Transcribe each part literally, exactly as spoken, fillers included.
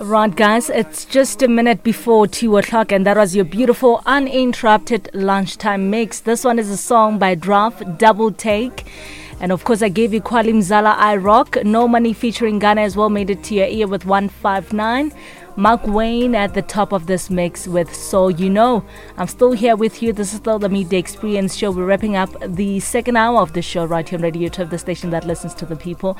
Right, guys, it's just a minute before two o'clock, and that was your beautiful, uninterrupted lunchtime mix. This one is a song by Draft, Double Take. And of course, I gave you Kwali Mzala, I Rock. No Money featuring Ghana as well made it to your ear with one five nine. Mark Wayne at the top of this mix with So You Know. I'm still here with you. This is still the Midday Experience show. We're wrapping up the second hour of the show right here on Radio twelve, the station that listens to the people.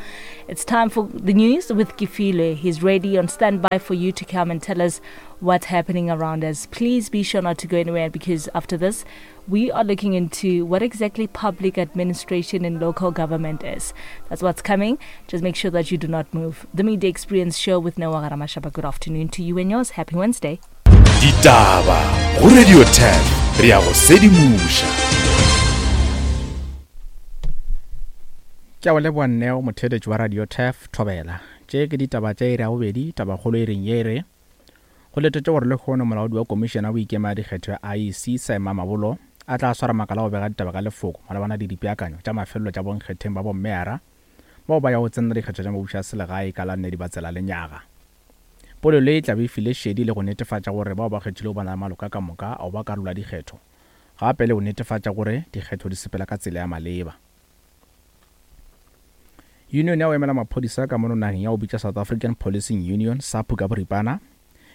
It's time for the news with Kifile. He's ready on standby for you to come and tell us what's happening around us. Please be sure not to go anywhere, because after this, we are looking into what exactly public administration in local government is. That's what's coming. Just make sure that you do not move. The Midday Experience show with Noah Ramashaba. Good afternoon to you and yours. Happy Wednesday. Ditaba go Radio ten, re a go sedimoša. Ke a go leboga Neo, motheeletši wa Radio Turf Thobela. Tše ke ditaba tša iri ya bobedi, tabakgolo e reng ye re go letetše gore lehono molaodi wa komišene ya boikema ya dikgetho ya I E C Saima Mabolo a tla swara makala go bega ditaba ka lefoko malebana le dipeakanyo tša mafelelo tša bonkgetheng ba bommeara bao ba ya go tsenela dikgetho tša mabuša a selegae ka la nne Dibatsela lenyaga. Polelo e tla be e file šedi le go netefatša gore bao ba kgethilego ba na le maloka ka moka ao ba karolo ya dikgetho, gape le go netefatša gore dikgetho di sepela ka tsela ya maleba. Union ya go emela maphodisa ka mono nageng ya go bitša South African Policing Union SAPU ka boripana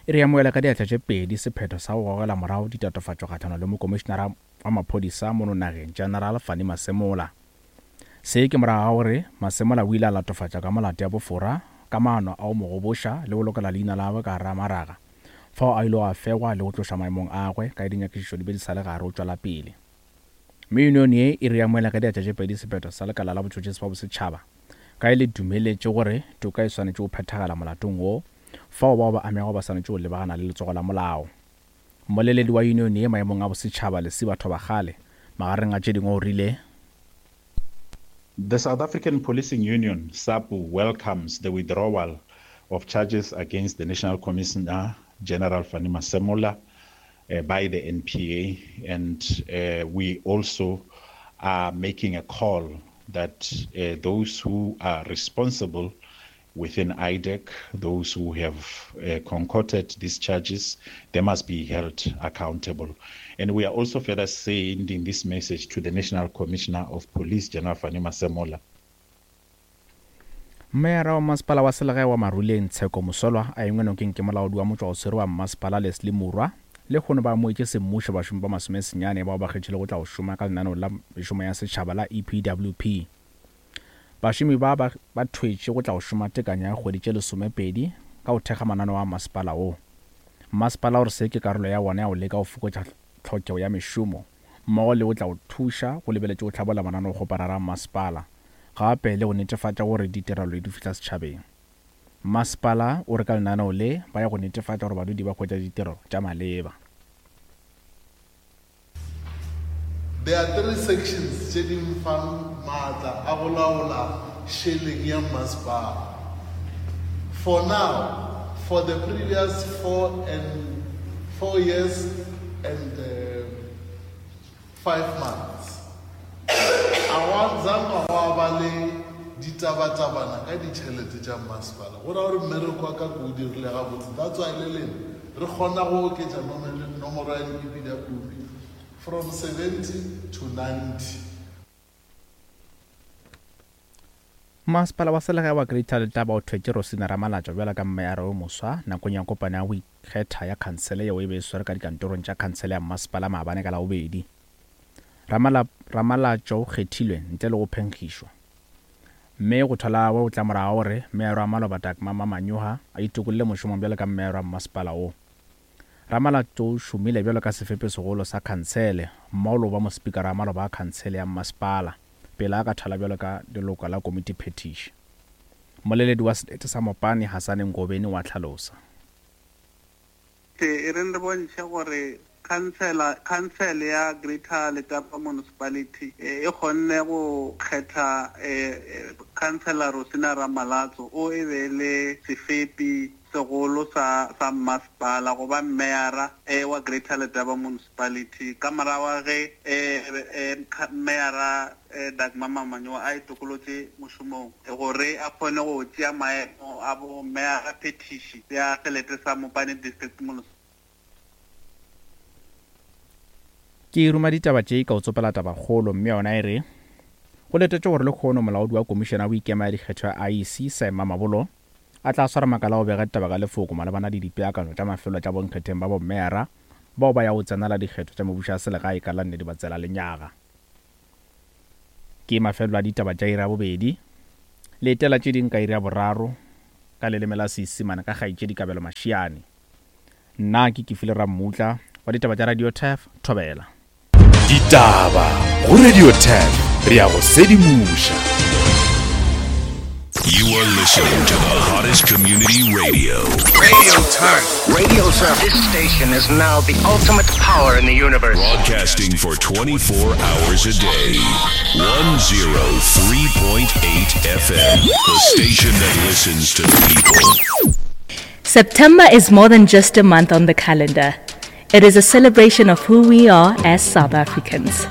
e re amohela ka diatla tše pedi sephetho sa go gogela morago ditatofatšo kgahlano le mokomišenara wa maphodisa mono nageng General Fannie Masemola. Se ke morago ga gore Masemola o ile a latofatša ka molato ya bofora ka maano a go mo goboša le go lokela leina la gagwe ka gare ga maraga, fao a ile a fegwa le go tloša maemong a gagwe ka dinyakišišo di be di sa le gare go tšwela pele. Mme union ye e re amohela ka diatla tše pedi sephetho sa lekala la botšhotšhisi ba bosetšhaba ka e le dumeletše gore toka e swanetše go phethagala molatong wo, fao bao ba amego ba swanetše go lebagana le letsogo la molao. Mmoleledi wa union ye maemong a bosetšhaba Lesiba Thobakgale magareng a tše dingwe o rile The South African Policing Union, SAPU, welcomes the withdrawal of charges against the National Commissioner General Fannie Masemola uh, by the N P A, and uh, we also are making a call that uh, those who are responsible within I D E C, those who have uh, concocted these charges, they must be held accountable. And we are also further sending this message to the National Commissioner of Police, General Fannie Masemola. Meyara wa masepala wa selegae wa Maruleng Tsheko Mosolwa a engwe nokeng ke molaodi wa motšwaoswere wa mmasepala Leslie Morwa le kgono ba amoetše semmušo bašomi ba masomesenyane bao ba kgethile go tla go šoma ka lenaneo la mešomo ya setšhaba la E P W P. Bašomi ba ba ba thwetše go tla go šoma tekanyo ya kgwedi tše lesomepedi ka go thekga mananeo a masepala wo. Masepala o re se ke karolo ya wona ya go leka go fokotša tlhokego ya mešomo mmogo le go tla go thuša go lebeletše go hlabolla mananeokgoparara a masepala, gape le go netefatša gore ditirelo di fihla setšhabeng. Masepala o re ka lenaneo le ba ya go netefatša gore badudi ba hwetša ditirelo tša maleba. There are three sections tše di mfang maatla a go laola šeleng ya masepala. For now, for the previous four and four years and, uh, five months, a wa zanga gwa ba le ditabatabana ka ditšhelete tša masepala. Go ra gore mmereko wa ka ke o dirile gabotse. That's why le lena re kgona go oketša nomoro ya di-E P W P from seventy to ninety. Masepala wa selegae wa Greater Letaba o thwetše Rosina Ramalatšo bjalo ka mmeara yo moswa nakong ya kopano ya go ikgetha ya khansele yeo e be e swere ka dikantorong tša khansele ya mmasepala maabane ka Labobedi. Ramala-, Ramalatšo o kgethilwe ntle le go phenkgišwa, mme go thwala gagwe o tla morago gore mmeara wa maloba Dagmar Mamanyoha a itokolle mošomong bjalo ka mmeara wa mmasepala wo. Ramalatšo o šomile bjalo ka sefepesegolo sa khansele mmogo le go ba mospikara wa maloba a khansele ya mmasepala pele a ka thwala bjalo ka leloko la komiti phetiši. Mmoleledi wa selete sa Mopani Hasane Ngobeni wa hlalosa. E reng re bontšhe gore Council council ya Greater Letaba Municipality e kgonne go kgetha councillor Rosina Ramalatso o e be le sefepi segolo sa sa masepala goba meyara e wa Greater Letaba Municipality ka morago ge meyara Dagmar Mamanyo a itokolotse mošomong gore a kgone go tšea maemo a bo meyara petition ya selete sa Mopani District Municipality. Ke ruma ditaba tše ka o tsopela tabakgolo mme yona e re go letetše gore lekgono molaodi wa komišene ya boikema ya dikgetho ya I E C Saima Mabolo a tla swara makala o bega ditaba ka lefoko malebana le dipeakanyo tša mafelo tša bonkgetheng ba bommeyara bao ba ya go tsenela dikgetho tša mebušo ya selegae ka la nne Dibatsela lenyaga. Ke mafelo a ditaba tša iri ya bobedi le etela tše ding ka iri ya boraro ka leleme la Seisemane ka kgaetšedi Kabelo Mashiane. Nna ke Kefile Rammutla wa ditaba tša Radio Turf Thobela. Ditaba go Radio Turf re ya go sedimoša. You are listening to the hottest community radio. Radio Turf. Radio Turf. This station is now the ultimate power in the universe. Broadcasting for twenty-four hours a day. one oh three point eight F M. The station that listens to the people. September is more than just a month on the calendar. It is a celebration of who we are as South Africans.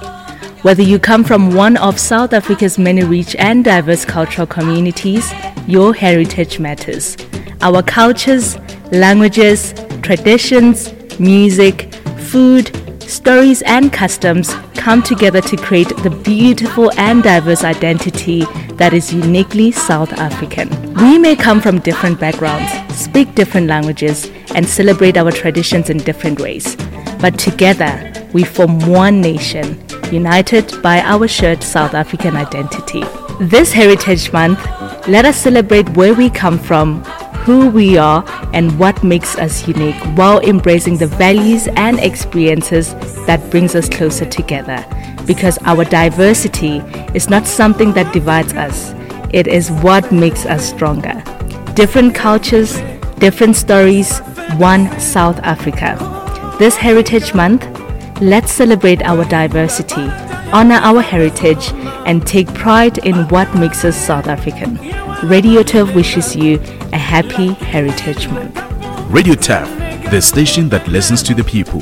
Whether you come from one of South Africa's many rich and diverse cultural communities, your heritage matters. Our cultures, languages, traditions, music, food, stories and customs come together to create the beautiful and diverse identity that is uniquely South African. We may come from different backgrounds, speak different languages, and celebrate our traditions in different ways. But together, we form one nation, united by our shared South African identity. This Heritage Month, let us celebrate where we come from, who we are, and what makes us unique, while embracing the values and experiences that brings us closer together. Because our diversity is not something that divides us, it is what makes us stronger. Different cultures, different stories, one South Africa. This Heritage Month, let's celebrate our diversity, honor our heritage, and take pride in what makes us South African. Radio Turf wishes you a happy Heritage Month. Radio Turf, the station that listens to the people.